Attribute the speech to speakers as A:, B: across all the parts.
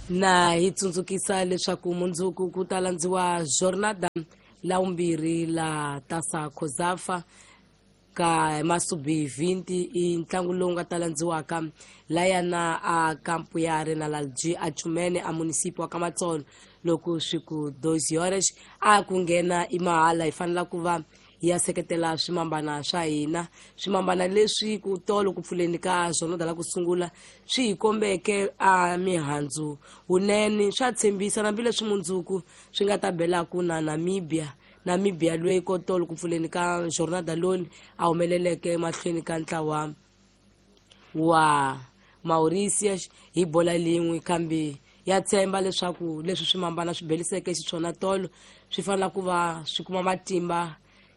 A: Na hi tsundzukisa leswaku mundzuku ku ta landziwa jornada la vumbirhi la tasa Cosafa ka masubi 20, i ntlangu lowu nga ta landziwaka layana a kampu ya Renalalg a Chumene a munisipi wa Kamatsolo loko swi ku 2 horas a ku nghena i mahala. Hi fanela ku va hi ya seketela swimambana swa hina, swimambana leswi ku tolo ku pfuleni ka jornada la ku sungula swi hi kombeke a mihandzu wunene, swa tshembisa hambileswi mundzuku swi nga ta belaku na Namibia. Namibia loyi ko tolo ku pfuleni ka jornada loni a humeleleke mahlweni ka ntlawa wa Mauritius hi bola lin'we, kambe ya tshemba leswaku leswi swimambana swi beliseke xiswona tolo swi fanela ku va swi kuma matimba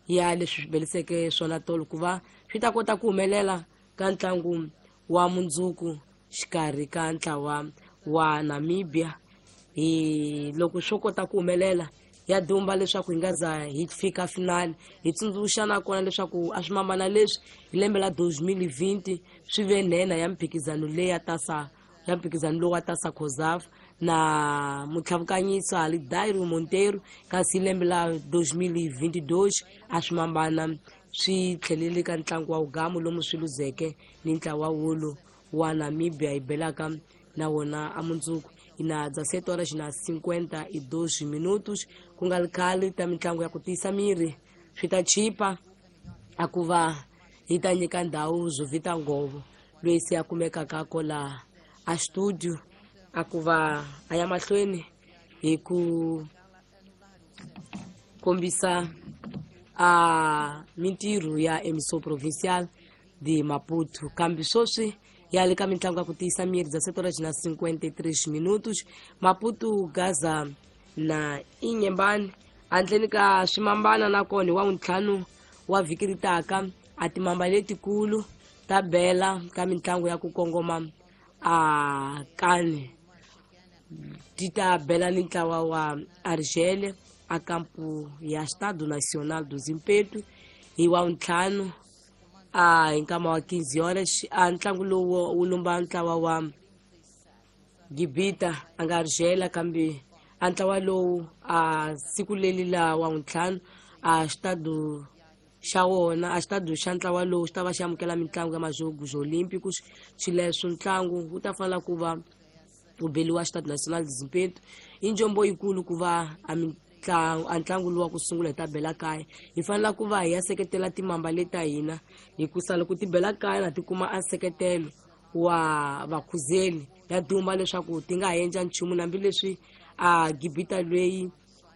A: ya leswi swi beliseke swona tolo ku va swi ta kota ku humelela ka ntlangu wa mundzuku xikarhi ka ntlawa wa Namibia. Hi loko swo kota ku humelela ya dumba leswaku hi nga za hi fika finali. Hi tsundzuxa nakona leswaku a swimambana leswi hi lembe la 2020 swi ve nhenha ya mphikizano leyi ya tasa ya mphikizano lowu wa tasa Cosafa na mutlhavukanyisa Alidairo Monteiro, kasi hi lembe la 2022 a swimambana swi tlhelele ka ntlangu wa ugamu lomu swi luzeke ni ntlawa wolo wa Namibia hi belaka na wona a mundzuku. Ina 17 horas na 52 minutos, ku nga ri khale ta mitlangu ya ku tiyisa miri swi ta chipa a ku va hi ta nyika ndhawu Zovita Ngovo loyi se a kumekaka kola a studio a ku va a ya mahlweni hi ku kombisa a mintirho ya Emissão Provincial de Maputo. Kambe sweswi ya le ka mitlangu ya ku tiyisa miri 17 horas na 53 minutos, Maputo Gaza na Inyembani handleni ka swimambana nakona hi wa vuntlhanu wa vhiki ri taka a timamba letikulu ta bela ka mitlangu ya ku kongoma a kani ti ta bela ni ntlawa wa Argelia a kampu ya Estado Nacional do Zimpeto hi wa vuntlhanu a hi nkama wa 15 horas. A ntlangu lowu wu lumba ntlawa wa Gibita a nga Argelia, kambe a ntlawa lowu a siku leli la wa vuntlhanu a xitado xa wona a xitado xa ntlawa lowu xi ta va xi amukela mitlangu ya Majogos Olímpicos. Xileswo ntlangu wu ta fanela ku va wu beliwa Estado Nacional de Zimpeto. I njombo yikulu ku va a mitlangu a ntlangu lowu wa ku sungula hi ta bela kaya. Hi fanela ku va hi ya seketela timamba leta hina, hikusa loko ti bela kaya na ti kuma a nseketelo wa vakhuzeli ya duma leswaku ti nga ha endla nchumu, hambileswi a Gibita loyi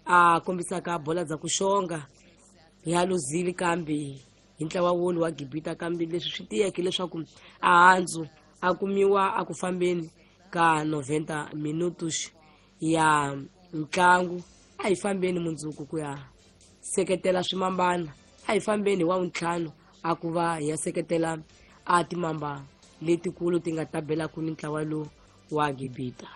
A: a kombisaka bola dza ku xonga ya luzile kambe hi ntlawa wolu wa Gibita, kambe leswi swi tiyeke leswaku a handzu a kumiwa a ku fambeni ka 90 minutos ya ntlangu. A hi fambeni mundzuku ku ya seketela swimambana, a hi fambeni hi wa vuntlhanu a ku va hi ya seketela a timamba letikulu ti nga ta belaku ni ntlawa lowu wa Gibita.